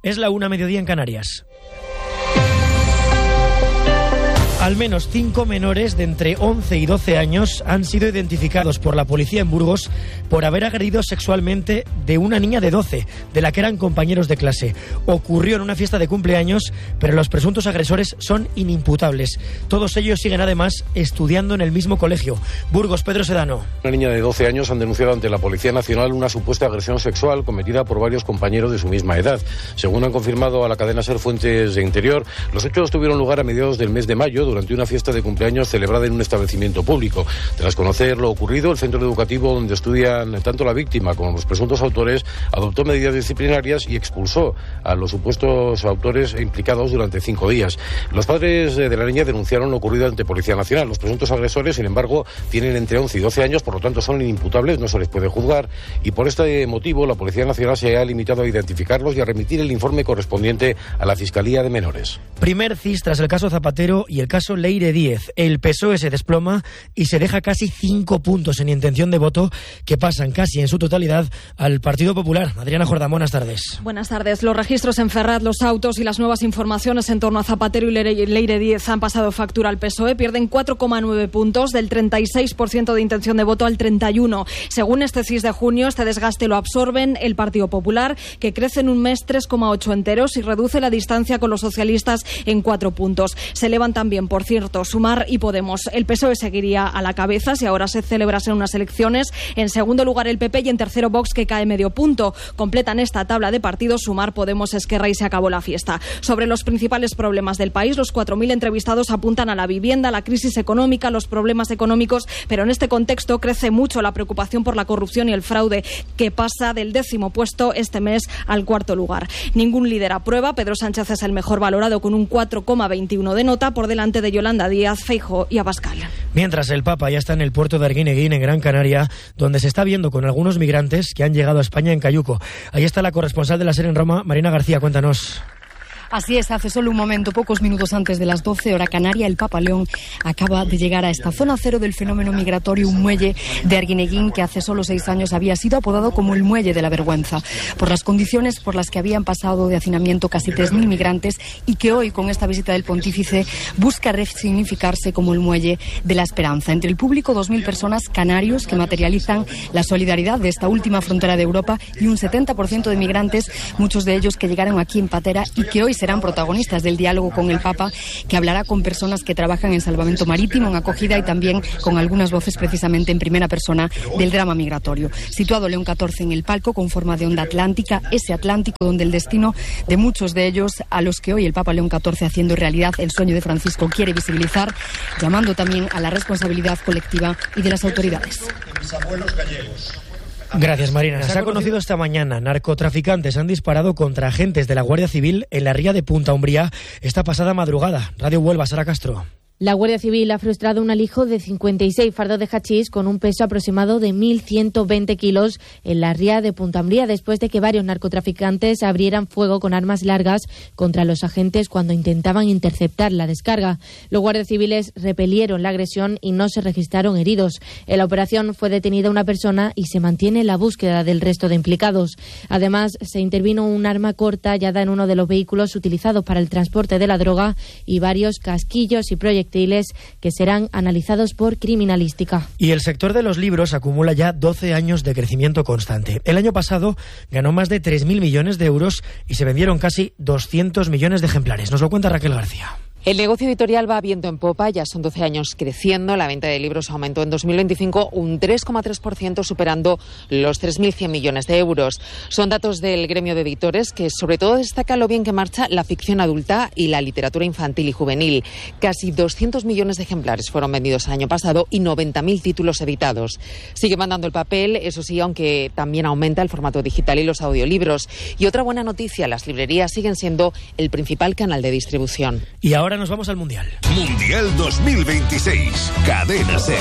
Es la 1:00 en Canarias. Al menos 5 menores de entre 11 y 12 años han sido identificados por la policía en Burgos por haber agredido sexualmente de una niña de 12, de la que eran compañeros de clase. Ocurrió en una fiesta de cumpleaños, pero los presuntos agresores son inimputables. Todos ellos siguen además estudiando en el mismo colegio. Burgos, Pedro Sedano. Una niña de 12 años han denunciado ante la Policía Nacional una supuesta agresión sexual cometida por varios compañeros de su misma edad. Según han confirmado a la cadena SER fuentes de Interior, los hechos tuvieron lugar a mediados del mes de mayo, durante una fiesta de cumpleaños celebrada en un establecimiento público. Tras conocer lo ocurrido, el centro educativo donde estudian tanto la víctima como los presuntos autores adoptó medidas disciplinarias y expulsó a los supuestos autores implicados durante 5 días. Los padres de la niña denunciaron lo ocurrido ante Policía Nacional. Los presuntos agresores, sin embargo, tienen entre 11 y 12 años, por lo tanto son inimputables, no se les puede juzgar, y por este motivo la Policía Nacional se ha limitado a identificarlos y a remitir el informe correspondiente a la Fiscalía de Menores. Primer CIS tras el caso Zapatero y el caso Leire Díez. El PSOE se desploma y se deja casi 5 puntos en intención de voto que pasan casi en su totalidad al Partido Popular. Adriana Jordán, buenas tardes. Buenas tardes. Los registros en Ferraz, los autos y las nuevas informaciones en torno a Zapatero y Leire Díez han pasado factura al PSOE. Pierden 4,9 puntos, del 36% de intención de voto al 31%. Según este CIS de junio, este desgaste lo absorben el Partido Popular, que crece en un mes 3,8 enteros y reduce la distancia con los socialistas en 4 puntos. Se elevan también, por cierto, Sumar y Podemos. El PSOE seguiría a la cabeza si ahora se celebrasen unas elecciones. En segundo lugar el PP y en tercero Vox, que cae medio punto. Completan esta tabla de partidos Sumar, Podemos, Esquerra y se acabó la fiesta. Sobre los principales problemas del país, los 4.000 entrevistados apuntan a la vivienda, la crisis económica, los problemas económicos, pero en este contexto crece mucho la preocupación por la corrupción y el fraude, que pasa del 10º puesto este mes al 4º lugar. Ningún líder aprueba. Pedro Sánchez es el mejor valorado con un 4,21 de nota, por delante de Yolanda Díaz, Feijóo y Abascal. Mientras el Papa ya está en el puerto de Arguineguín, en Gran Canaria, donde se está viendo con algunos migrantes que han llegado a España en cayuco. Ahí está la corresponsal de la SER en Roma, Marina García, cuéntanos. Así es, hace solo un momento, pocos minutos antes de las 12 hora canaria, el Papa León acaba de llegar a esta zona cero del fenómeno migratorio, un muelle de Arguineguín que hace solo 6 años había sido apodado como el muelle de la vergüenza, por las condiciones por las que habían pasado de hacinamiento casi 3.000 migrantes y que hoy, con esta visita del pontífice, busca resignificarse como el muelle de la esperanza. Entre el público, 2.000 personas canarios que materializan la solidaridad de esta última frontera de Europa y un 70% de migrantes, muchos de ellos que llegaron aquí en patera y que hoy serán protagonistas del diálogo con el Papa, que hablará con personas que trabajan en salvamento marítimo, en acogida y también con algunas voces precisamente en primera persona del drama migratorio. Situado León XIV en el palco con forma de onda atlántica, ese Atlántico donde el destino de muchos de ellos, a los que hoy el Papa León XIV, haciendo realidad el sueño de Francisco, quiere visibilizar, llamando también a la responsabilidad colectiva y de las autoridades. Gracias, Marina. Se ha conocido esta mañana. Narcotraficantes han disparado contra agentes de la Guardia Civil en la ría de Punta Umbría esta pasada madrugada. Radio Huelva, Sara Castro. La Guardia Civil ha frustrado un alijo de 56 fardos de hachís con un peso aproximado de 1.120 kilos en la ría de Punta Umbría, después de que varios narcotraficantes abrieran fuego con armas largas contra los agentes cuando intentaban interceptar la descarga. Los guardias civiles repelieron la agresión y no se registraron heridos. En la operación fue detenida una persona y se mantiene la búsqueda del resto de implicados. Además, se intervino un arma corta hallada en uno de los vehículos utilizados para el transporte de la droga y varios casquillos y proyectiles que serán analizados por criminalística. Y el sector de los libros acumula ya 12 años de crecimiento constante. El año pasado ganó más de 3.000 millones de euros y se vendieron casi 200 millones de ejemplares. Nos lo cuenta Raquel García. El negocio editorial va viento en popa, ya son 12 años creciendo. La venta de libros aumentó en 2025 un 3,3%, superando los 3.100 millones de euros. Son datos del gremio de editores que sobre todo destaca lo bien que marcha la ficción adulta y la literatura infantil y juvenil. Casi 200 millones de ejemplares fueron vendidos el año pasado y 90.000 títulos editados. Sigue mandando el papel, eso sí, aunque también aumenta el formato digital y los audiolibros. Y otra buena noticia, las librerías siguen siendo el principal canal de distribución. Y ahora ahora nos vamos al Mundial. Mundial 2026, Cadena SER.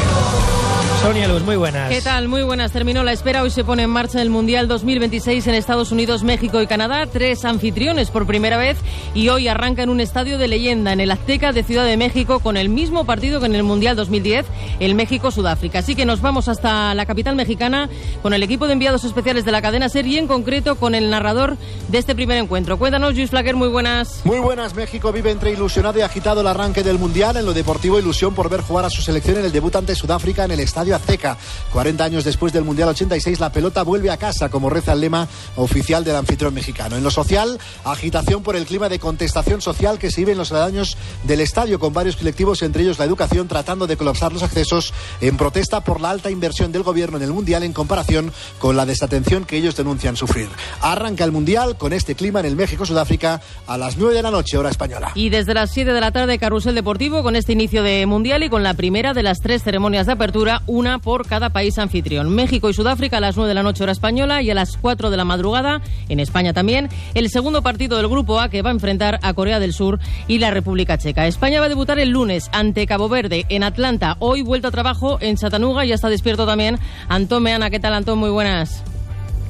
Sonia Luz, muy buenas. ¿Qué tal? Muy buenas. Terminó la espera. Hoy se pone en marcha el Mundial 2026 en Estados Unidos, México y Canadá. 3 anfitriones por primera vez y hoy arranca en un estadio de leyenda, en el Azteca de Ciudad de México, con el mismo partido que en el Mundial 2010, el México-Sudáfrica. Así que nos vamos hasta la capital mexicana con el equipo de enviados especiales de la cadena SER y en concreto con el narrador de este primer encuentro. Cuéntanos, Luis Flaquer, muy buenas. Muy buenas. México vive entre ilusionado y agitado el arranque del Mundial. En lo deportivo, ilusión por ver jugar a su selección en el debut ante Sudáfrica en el estadio Azteca. 40 años después del Mundial 86, la pelota vuelve a casa, como reza el lema oficial del anfitrión mexicano. En lo social, agitación por el clima de contestación social que se vive en los aledaños del estadio, con varios colectivos, entre ellos la educación, tratando de colapsar los accesos en protesta por la alta inversión del gobierno en el Mundial en comparación con la desatención que ellos denuncian sufrir. Arranca el Mundial con este clima en el México-Sudáfrica a las 9 de la noche, hora española. Y desde las 7 de la tarde, carrusel deportivo con este inicio de Mundial y con la primera de las 3 ceremonias de apertura, una por cada país anfitrión. México y Sudáfrica a las 9 de la noche hora española y a las 4 de la madrugada, en España también, el segundo partido del Grupo A que va a enfrentar a Corea del Sur y la República Checa. España va a debutar el lunes ante Cabo Verde en Atlanta. Hoy vuelta a trabajo en Chattanooga. Ya está despierto también Antón Meana. ¿Qué tal, Antón? Muy buenas.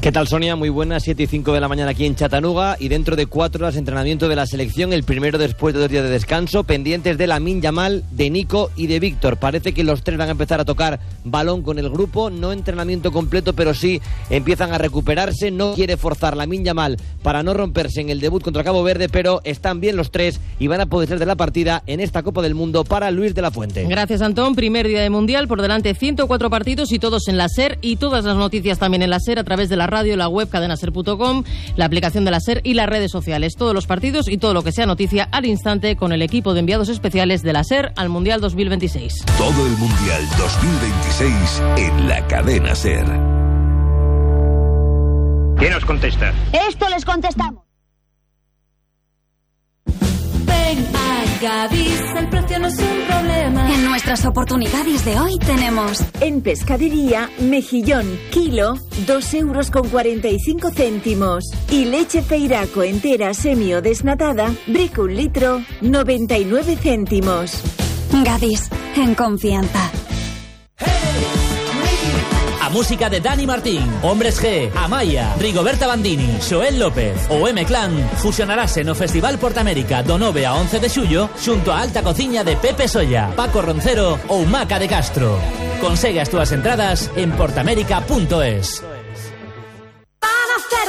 ¿Qué tal, Sonia? Muy buenas, 7 y 5 de la mañana aquí en Chattanooga y dentro de 4 horas entrenamiento de la selección, el primero después de 2 días de descanso, pendientes de Lamine Yamal, de Nico y de Víctor. Parece que los 3 van a empezar a tocar balón con el grupo, no entrenamiento completo, pero sí empiezan a recuperarse. No quiere forzar Lamine Yamal para no romperse en el debut contra Cabo Verde, pero están bien los 3 y van a poder ser de la partida en esta Copa del Mundo para Luis de la Fuente. Gracias, Antón. Primer día de Mundial, por delante 104 partidos y todos en la SER y todas las noticias también en la SER a través de la radio, la web cadenaser.com, la aplicación de la SER y las redes sociales. Todos los partidos y todo lo que sea noticia al instante con el equipo de enviados especiales de la SER al Mundial 2026. Todo el Mundial 2026 en la cadena SER. ¿Quién nos contesta? Esto les contestamos. Ven a Gadis, el precio no es un problema. En nuestras oportunidades de hoy tenemos en pescadería, mejillón, kilo, 2,45 €. Y leche Feiraco entera semi o desnatada, brick 1 litro, 99 céntimos. Gadis, en confianza. A música de Dani Martín, Hombres G, Amaya, Rigoberta Bandini, Xoel López ou M-Clan fusionarase no Festival Portamérica do 9 a 11 de xullo xunto a alta cociña de Pepe Solla, Paco Roncero ou Maca de Castro. Consegue as túas entradas en portamérica.es.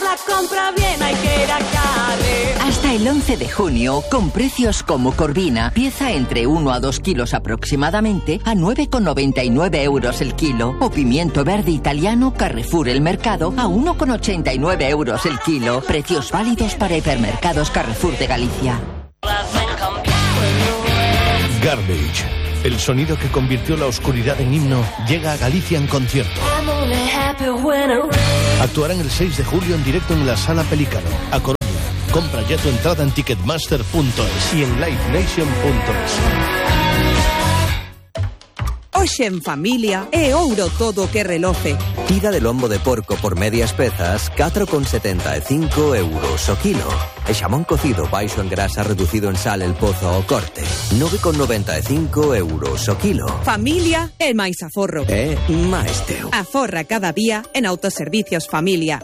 La compra bien, hay que ir a Carre. Hasta el 11 de junio, con precios como Corvina, pieza entre 1 a 2 kilos aproximadamente, a 9,99 € el kilo. O pimiento verde italiano Carrefour El Mercado, a 1,89 € el kilo. Precios válidos para hipermercados Carrefour de Galicia. Garbage, el sonido que convirtió la oscuridad en himno, llega a Galicia en concierto. Actuarán el 6 de julio en directo en la Sala Pelícano, a Coruña. Compra ya tu entrada en ticketmaster.es y en livenation.es. Hoxe en familia é ouro todo que reloce. Tira de lombo de porco por medias pezas, 4,75 € o kilo. E xamón cocido baixo en grasa reducido en sal el pozo ao corte, 9,95 € o kilo. Familia é máis aforro. É máis teu. Aforra cada día en Autoservicios Familia.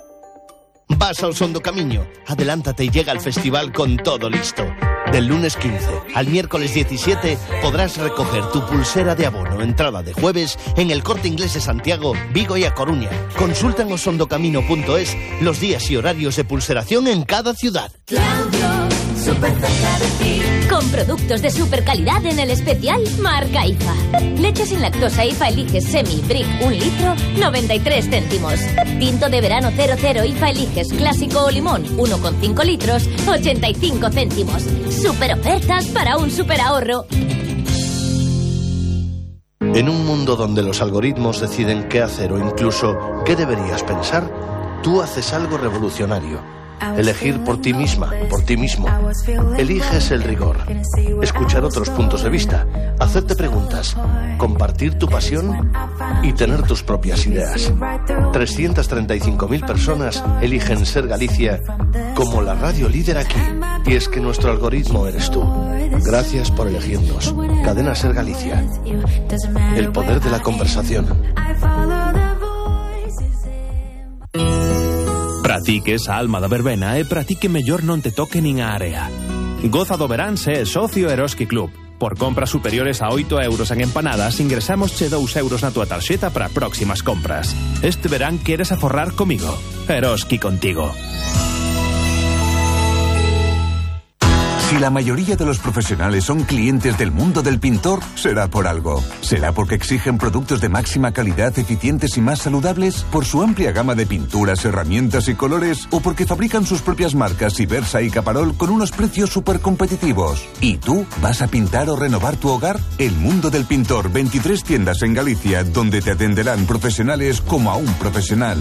Vas ao Son do Camiño, adelántate y llega al festival con todo listo. Del lunes 15 al miércoles 17 podrás recoger tu pulsera de abono entrada de jueves en el Corte Inglés de Santiago, Vigo y A Coruña. Consulta en osondocamino.es los días y horarios de pulseración en cada ciudad. Claudio, súper cerca de ti. Con productos de super calidad en el especial Marca IFA. Leche sin lactosa IFA Eliges Semi Brick 1 litro, 93 céntimos. Tinto de verano 00 IFA Eliges Clásico o Limón 1,5 litros, 85 céntimos. Super ofertas para un super ahorro. En un mundo donde los algoritmos deciden qué hacer o incluso qué deberías pensar, tú haces algo revolucionario. Elegir por ti misma, por ti mismo. Eliges el rigor. Escuchar otros puntos de vista. Hacerte preguntas. Compartir tu pasión y tener tus propias ideas. 335.000 personas eligen Ser Galicia como la radio líder aquí. Y es que nuestro algoritmo eres tú. Gracias por elegirnos. Cadena Ser Galicia. El poder de la conversación. Para ti que esa alma da verbena e para ti que mellor non te toque nin a area. Goza do verán se é socio Eroski Club. Por compras superiores a 8 euros en empanadas, ingresamos che 2 euros na túa tarxeta para próximas compras. Este verán queres aforrar comigo. Eroski contigo. Si la mayoría de los profesionales son clientes del mundo del pintor, será por algo. ¿Será porque exigen productos de máxima calidad, eficientes y más saludables? ¿Por su amplia gama de pinturas, herramientas y colores? ¿O porque fabrican sus propias marcas Ibersa y Caparol con unos precios súper competitivos? ¿Y tú vas a pintar o renovar tu hogar? El mundo del pintor, 23 tiendas en Galicia, donde te atenderán profesionales como a un profesional.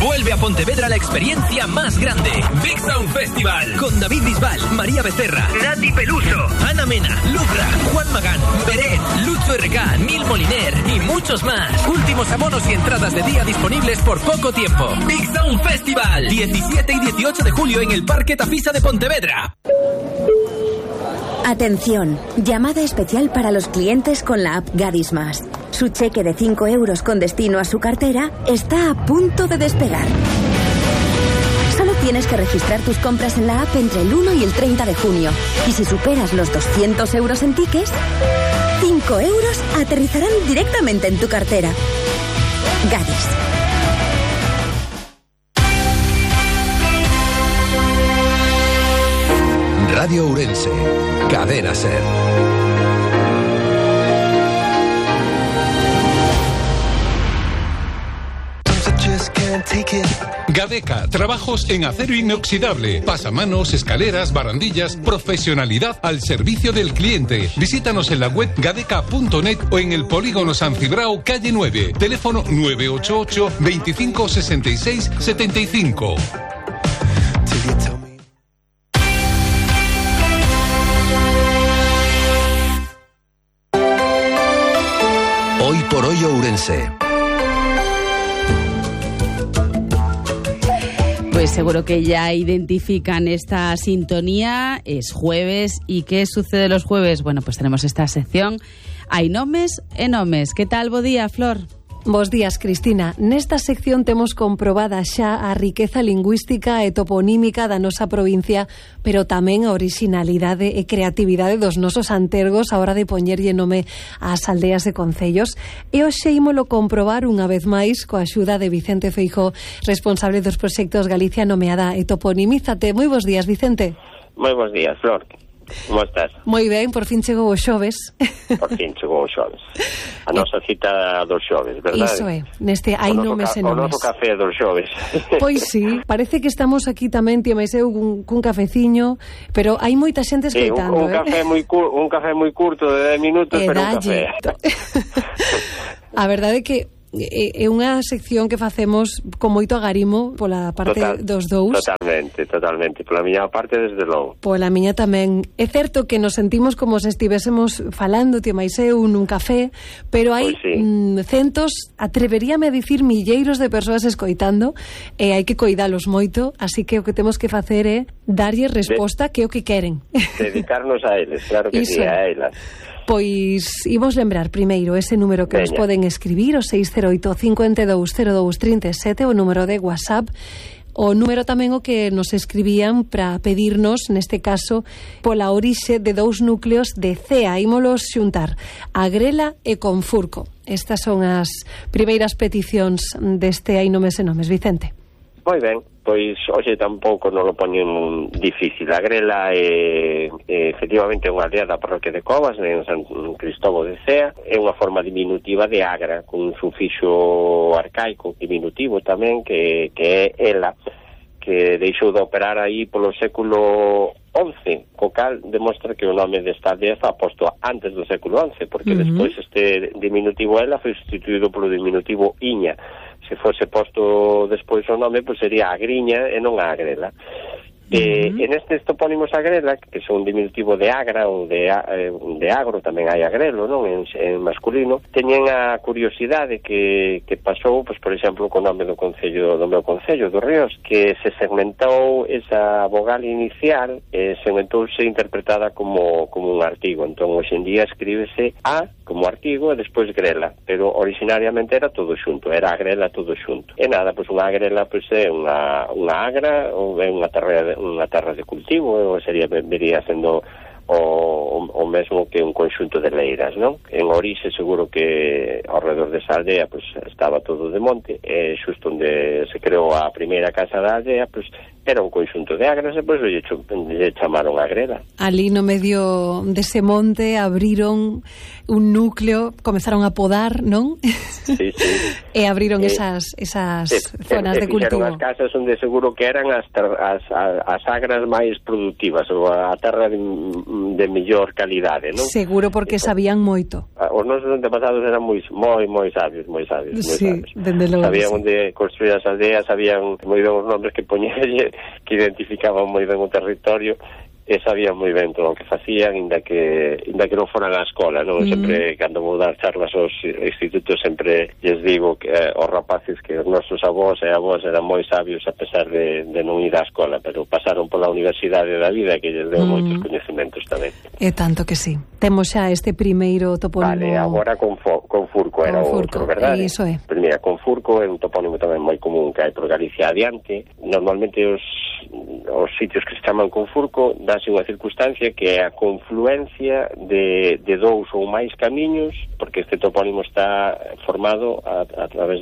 Vuelve a Pontevedra la experiencia más grande. Big Sound Festival. Con David Bisbal, María Becerra, Nati Peluso, Ana Mena, Lubra, Juan Magán, Beret, Lucho RK, Nil Moliner y muchos más. Últimos abonos y entradas de día disponibles por poco tiempo. Big Sound Festival. 17 y 18 de julio en el Parque Tafisa de Pontevedra. Atención, llamada especial para los clientes con la app Gadis Más. Su cheque de 5 euros con destino a su cartera está a punto de despegar. Solo tienes que registrar tus compras en la app entre el 1 y el 30 de junio. Y si superas los 200 euros en tickets, 5 euros aterrizarán directamente en tu cartera. Gadis. Radio Ourense, Cadena Ser. Gadeca, trabajos en acero inoxidable, pasamanos, escaleras, barandillas, profesionalidad al servicio del cliente. Visítanos en la web gadeca.net o en el polígono San Cibrao, calle 9, teléfono 988 25 66 75. Hoy por hoy Ourense. Pues seguro que ya identifican esta sintonía, es jueves. ¿Y qué sucede los jueves? Bueno, pues tenemos esta sección Hai nomes e nomes. Que tal, bo día, Flor? Bos días, Cristina. Nesta sección temos comprobada xa a riqueza lingüística e toponímica da nosa provincia, pero tamén a orixinalidade e creatividade dos nosos antergos a hora de poñerlle nome ás aldeas e concellos. E hoxe ímolo comprobar unha vez máis coa axuda de Vicente Feijóo, responsable dos proxectos Galicia Nomeada e Toponímizate. Moi bos días, Vicente. Moi bos días, Flor. Como estás? Moi ben, por fin chegou o xoves. Por fin chegou o xoves. A nosa cita dos xoves, verdade? Iso é, neste hai nomes e nomes. O noso café dos xoves. Pois sí, parece que estamos aquí tamén, tía máis eu, cun cafeciño, pero hai moita xente escoitando. Un café moi curto de 10 minutos, pero un café. A verdade é que é unha sección que facemos con moito agarimo pola parte dos dous. Totalmente. Pola miña parte, desde logo. Pola miña tamén. É certo que nos sentimos como se estivésemos falando, tía máis eu, nun café, pero hai centos, atreveríame a dicir milleiros de persoas escoitando, e hai que coidalos moito, así que o que temos que facer é darlle resposta que é o que queren. Dedicarnos a eles, claro que sí, a elas. Pois imos lembrar primeiro ese número que nos poden escribir, o 608 52 02 37, o número de WhatsApp, o número tamén o que nos escribían para pedirnos, neste caso, pola orixe de dous núcleos de CEA. Ímolos xuntar, Agrela e Confurco. Estas son as primeiras peticións deste Hai nomes e nomes, Vicente. Moi ben, pois hoxe tampouco non lo poñen difícil. A Grela é efectivamente unha aldea da parroquia de Covas, en San Cristóbal de Cea. É unha forma diminutiva de Agra, con un sufixo arcaico diminutivo tamén, que é ela, que deixou de operar aí polo século XI, co cal demostra que o nome desta aldea está posto antes do século XI, porque despois este diminutivo ela foi sustituído polo diminutivo Iña. Se fose posto despois o nome, pois sería Agriña e non a Agrela. En estes topónimos Agrela, que son un diminutivo de Agra ou de Agro, tamén hai Agrelo, non? En masculino, teñen a curiosidade que pasou, pois, por exemplo, co nome do concello, do meu concello, do Ríos, que se segmentou esa vogal inicial, segmentouse interpretada como un artigo. Entón, hoxe en día escríbese A como artigo e despois grela, pero originariamente era todo xunto, era Agrela todo xunto. E nada, pois unha Agrela pois é unha agra ou é unha terra de cultivo, ou vería sendo o mesmo que un conxunto de leiras, non? En orixe seguro que ao redor desa aldea pois estaba todo de monte, e xusto onde se creou a primeira casa da aldea pois era un conxunto de agras e pois lle chamaron Agrela. Ali no medio dese monte abriron un núcleo, comezaron a podar, non? Sí. E abriron esas zonas de cultivo. As casas onde seguro que eran as agras máis productivas, ou a terra de mellor calidade, non? Seguro porque sabían moito. Os nosos antepasados eran moi sabios, moi sabios. Sí, dende logo. Sabían onde construir as aldeas, sabían moi ben os nombres que poñerlle, que identificaban moi ben o territorio, e sabían moi ben todo o que facían, inda que non foran á escola, non? Sempre, cando vou dar charlas aos institutos, sempre lles digo que aos rapaces que os nosos avós e avós eran moi sabios a pesar de non ir á escola, pero pasaron pola universidade da vida, que lles deu moitos coñecementos tamén. E tanto que sí. Temos xa este primeiro topónimo. Vale, agora Confurco era o outro, verdade? Iso é. Primeira, Confurco é un topónimo tamén moi común que hai por Galicia adiante. Normalmente os sitios que se chaman Confurco dáse unha circunstancia que é a confluencia de dous ou máis camiños, porque este topónimo está formado a través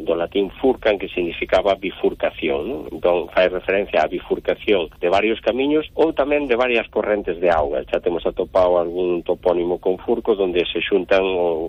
do latín furcan, que significaba bifurcación, non? Entón fai referencia á bifurcación de varios camiños ou tamén de varias correntes de auga. Xa temos atopado algún topónimo Confurco donde se xuntan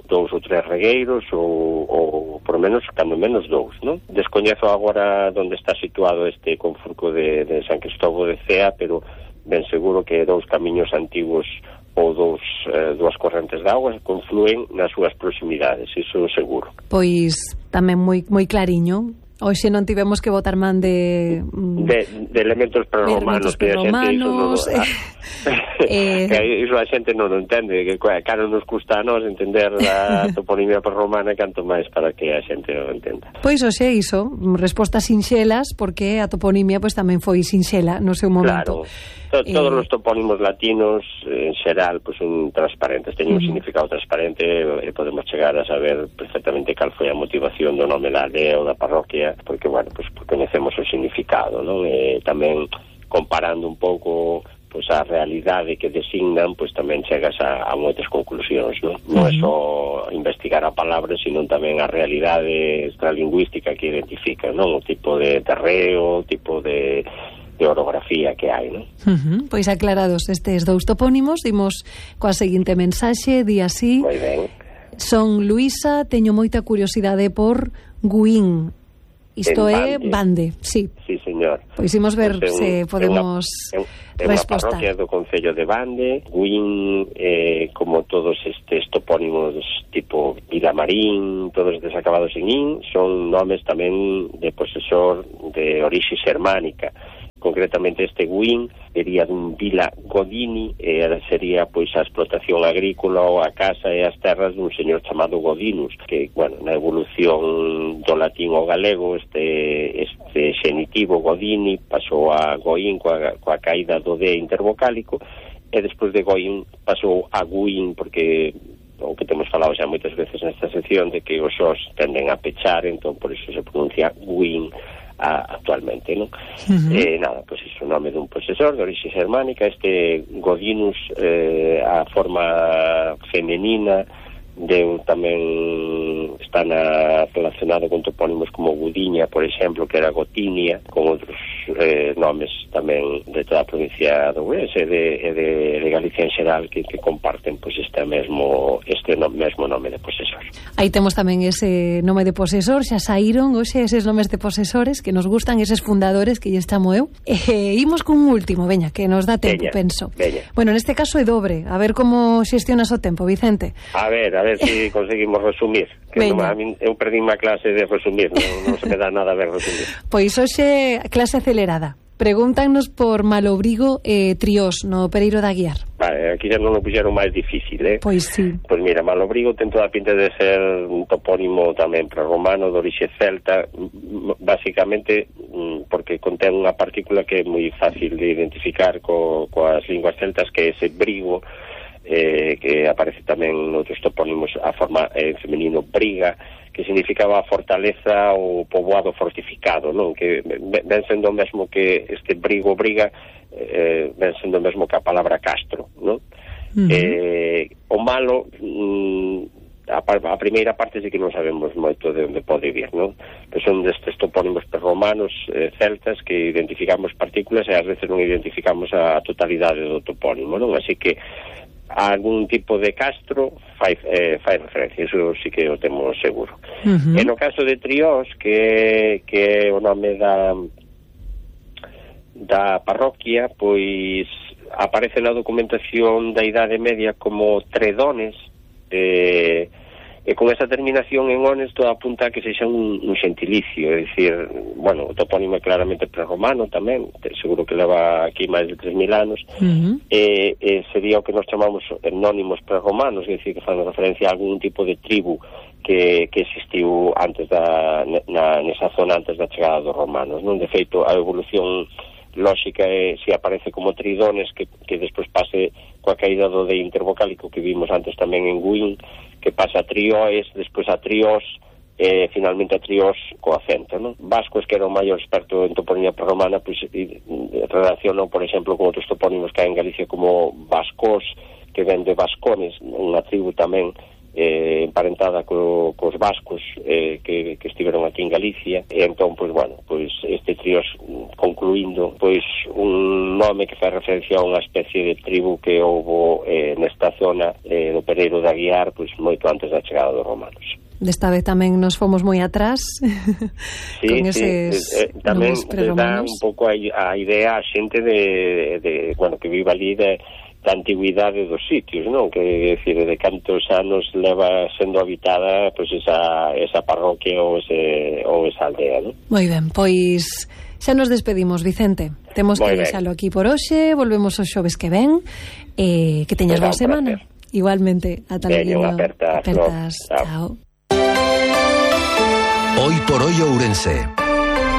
dous ou tres regueiros ou por menos, cando menos dous, non? Descoñezo agora onde está situado este Confurco de San Cristóbal de Cea, pero ben seguro que dous camiños antigos ou dúas correntes de auga conflúen nas súas proximidades, iso seguro. Pois tamén moi clariño. Hoxe non tivemos que botar man de elementos prerromanos, que a xente non o entende, que caro nos custa a nós entender a toponimia prerromana, canto máis para que a xente o entenda. Pois hoxe iso, respostas sinxelas, porque a toponimia pois tamén foi sinxela no seu momento. Claro, todos os topónimos latinos en xeral pois son transparentes, teñen un significado transparente e podemos chegar a saber perfectamente cal foi a motivación do nome da aldea ou da parroquia, porque, bueno, pues conhecemos o significado, non? E tamén comparando un pouco pois a realidade que designan, pois tamén chegas a moitas conclusións, non? Non é só investigar a palabra, sino tamén a realidade extralingüística que identifica, non? O tipo de terreo, o tipo de orografía que hai, non? Pois aclarados estes dous topónimos, dimos coa seguinte mensaxe, di así: moi ben. Son Luisa, teño moita curiosidade por Guín. Isto é Bande, sí. Sí, señor. Pois imos ver se podemos respostar. É unha parroquia do concello de Bande. Guín, como todos estes topónimos tipo Vilamarín, todos desacabados en in, son nomes tamén de posesor de orixe xermánica. Concretamente este Guín sería dun Vila Godini, sería pois a explotación agrícola ou a casa e as terras dun señor chamado Godinus, que, bueno, na evolución do latín ao galego este xenitivo Godini pasou a Goín coa caída do D intervocálico, e despois de Goín pasou a Guín, porque o que temos falado xa moitas veces nesta sección de que os xos tenden a pechar, entón por iso se pronuncia Guín actualmente, non? Nada, pois iso, o nome dun posesor de orixe germánica. Este Godinus, a forma femenina deu tamén, está relacionado con topónimos como Gudiña, por exemplo, que era Gotinia, con outros nomes tamén de toda a provincia do Ourense e de Galicia en xeral que comparten pois este mesmo nome de posesor. Aí temos tamén ese nome de posesor, xa saíron hoxe eses nomes de posesores que nos gustan, eses fundadores que lle chamo eu. Imos cun último, veña, que nos dá tempo, penso. Bueno, neste caso é dobre, a ver como xestionas o tempo, Vicente. A ver se conseguimos resumir. Que non, eu perdí unha clase de resumir, non se me dá nada a ver resumir. Pois hoxe clase acelerada. Pregúntanos por Malobrigo Triós, no Pereiro da Aguiar. Vale, aquí xa non o puxeron máis difícil, Pois sí. Pois mira, Malobrigo ten toda a pinta de ser un topónimo tamén prerromano, de orixe celta, basicamente porque contén unha partícula que é moi fácil de identificar coas linguas celtas, que é ese brigo, que aparece tamén noutros topónimos a forma en femenino briga, que significaba fortaleza ou poboado fortificado, non? Que ven sendo o mesmo que este brigo briga, ven sendo o mesmo que a palabra castro, non? O malo, a primeira parte sí que non sabemos moito de onde pode vir, non? Que son destes topónimos prerromanos celtas que identificamos partículas e ás veces non identificamos a totalidade do topónimo, non? Así que algún tipo de castro fai referencia, eso sí que o temos seguro. E no caso de Triós, que é o nome da parroquia, pois aparece na documentación da Idade Media como Tredones, e con esa terminación en ones todo apunta a que sexa un gentilicio, é dicir, bueno, o topónimo é claramente prerromano tamén, seguro que leva aquí máis de 3.000 anos, e sería o que nos chamamos etnónimos prerromanos, é dicir, que fan referencia a algún tipo de tribu que existiu antes nesa zona antes da chegada dos romanos, non? De feito, a evolución lógica é se aparece como Tridones que despois pase coa caída do de intervocálico que vimos antes tamén en Guín, que pasa a Trioes, despois a Triós, finalmente a Triós co acento, non? Vascos, que era o maior experto en toponimia prerromana, pois relacionou, por exemplo, con outros topónimos que hai en Galicia como Vascos, que ven de Vascones, unha tribu tamén emparentada cos vascos que estiveron aquí en Galicia, e entón, pois, bueno, pois este Triós, concluindo, pois un nome que fai referencia a unha especie de tribu que houbo nesta zona do Pereiro da Aguiar, pois moito antes da chegada dos romanos. Desta vez tamén nos fomos moi atrás con eses tamén nomes prerromanos. Dá un pouco a idea a xente de bueno, que vive ali da antigüidade dos sitios, non? Que, decir, de cantos anos leva sendo habitada pois esa parroquia ou esa aldea, non? Moi ben, pois xa nos despedimos, Vicente. Temos que deixalo aquí por hoxe, volvemos os xoves que ven, que teñas boa semana. Igualmente, ata logo. Apertas. Chao. Hoy por hoy Ourense.